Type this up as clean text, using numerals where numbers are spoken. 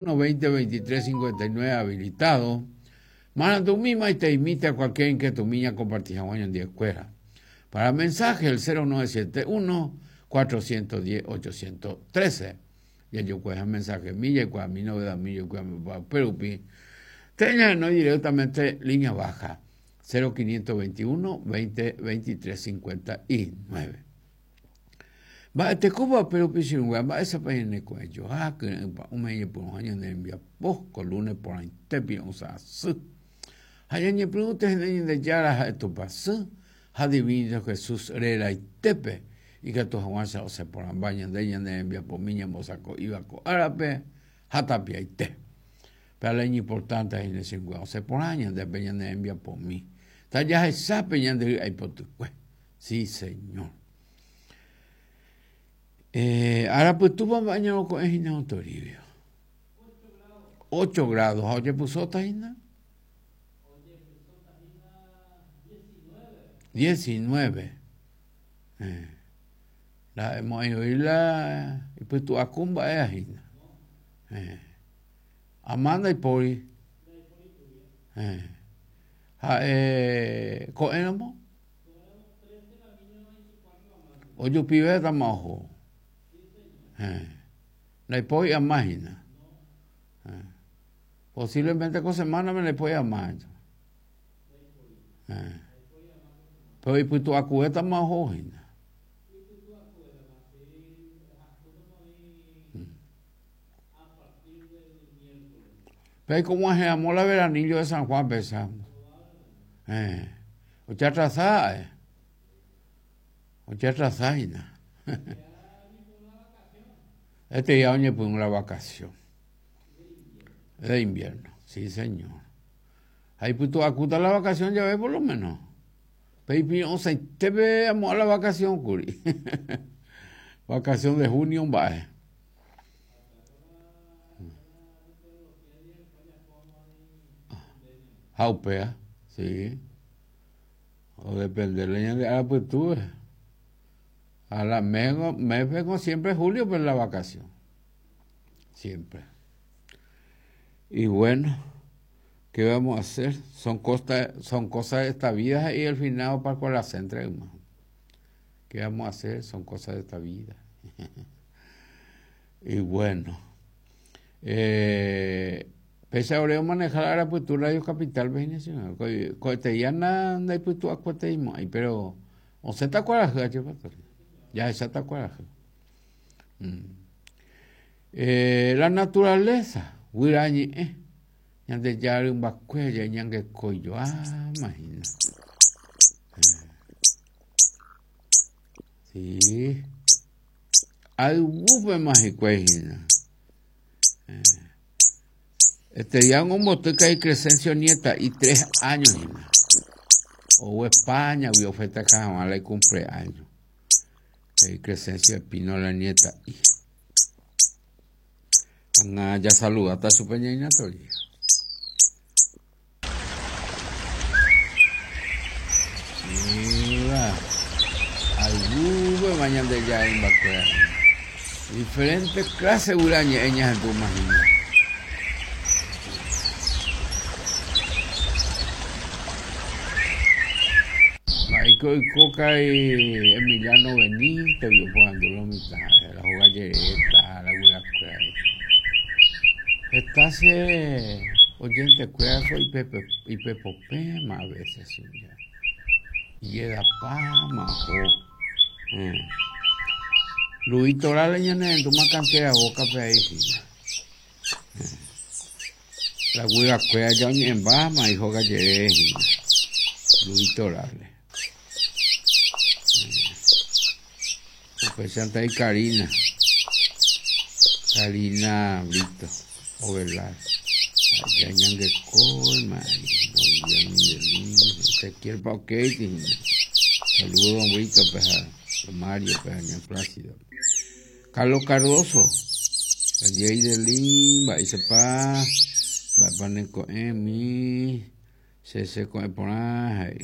20 23 59 habilitado. Marandumi maiteimíta cualquier inquietud ña compartir hag̃ua ñandivekuéra. Para mensaje el 0971 410 813. Jajokuaha mensaje mi, jaikuaami novedad mi, jaikuaami upérupi. Teñahenói directamente línea baja 0521 20 23 59. Mba'etekópa upérupi che irũnguéra, mba'éichapa ñaneko'ẽjoa, kyre'ỹ pa'ũme ñañepyrũha ñane rembiapo ko lunes porãite piro'ysã asy. Ha ñañepyrũte hína Ñandejára ha'e Tupãsy ha Divino Jesús reraitépe, ikatu hag̃uáicha osẽ porãmba ñande ñane rembiapomi ñambosako'íva ko árape ha tapiaite. Pe la iñimportante hína che irũnguéra, osẽ porã ñande pe ñane rembiapomi. Tajahecha pe ñande ry'ái potykue. Sí, Señor. Eh, ára pytúpa mba'e ñaroko'ẽ hína don Toribio. 8 grados. Ha ojepysóta hína? 19. Eh. La emo'ãioi la ipytu'aku mba'e hína. Eh. Ama ndaipóri. Eh. Ha'e ko'ẽramo? Ojupivétama oho. Eh. Ndaipói ama hína. Eh. Posiblemente ko semana-me ndaipói ama. Eh. Pero ipytu'akuvétama oho hína. Pe ko'ag̃uahẽramo la veranillo de San Juan pesa. Eh. Ojeatrasa eh. Ojeatrasa hína. Este día oñepyrũ la vacación. De invierno, sí señor. Ha ipytu'akúta la vacación jave por lo menos. Pe ipirõsaitépe amo'ã la vacación kuri. Vacación de junio mba'e. Ha upéa, sí. O depende la ñande ára pytúve. A la mes, mes siempre julio pero la vacación. Siempre. Y bueno, ¿qué vamos a hacer? Son cosas, son cosas de esta vida y el final para con la centra, hermano. ¿Qué vamos a hacer? Son cosas de esta vida. Y bueno, eh, pese a oreo manejar ahora pues tu Radio Capital, Coeteiana, pues tu acueteimo, pero o se te acuerdas, ya se te acuerdas. Mm. Eh, la naturaleza, guyrañe'ẽ, Ñandejára rymbakuéra ñangekoijoáma hína. Sí. Ayvúpema hikuái hína. Este día omboty ka'i Crescencio nieta'i 3 años hína. Ou España-gui ofesteja hag̃ua la icumpleaños. Ka'i Crescencio Espínola nieta'i. Ág̃a jasaludáta chupe ñaína Tori. Mira, ayvúpema Ñandejára imbakuéra hína. Diferente clase guyra ñe'ẽ ñahendúma hína. Mba'éiko oiko karai Emiliano Benítez-gui oporandu lo mitã ha'e la hóga jeréta la guyrakuéra. Heta che oyentekuéra ko ipepopẽma a veces che. Ijedapáma oho. Luis Torales ñanerendúma cantera Boca-pe avei hína. La guyrakuéra ja oñe'ẽmbáma ihóga jerére hína. Luis Torales. Upéichante avei Karina. Karina Brito Ovelar. Ja ñangekóima don Día Miguelín, Ezequiel Pauqueiti hína. Saludos don Brito pe ha don Mario pe ha ña Plácido. Carlos Cardoso, Jay Delín, mba'éichapa, mba'épa neko'ẽmi, che cheko'ẽ porã he'i.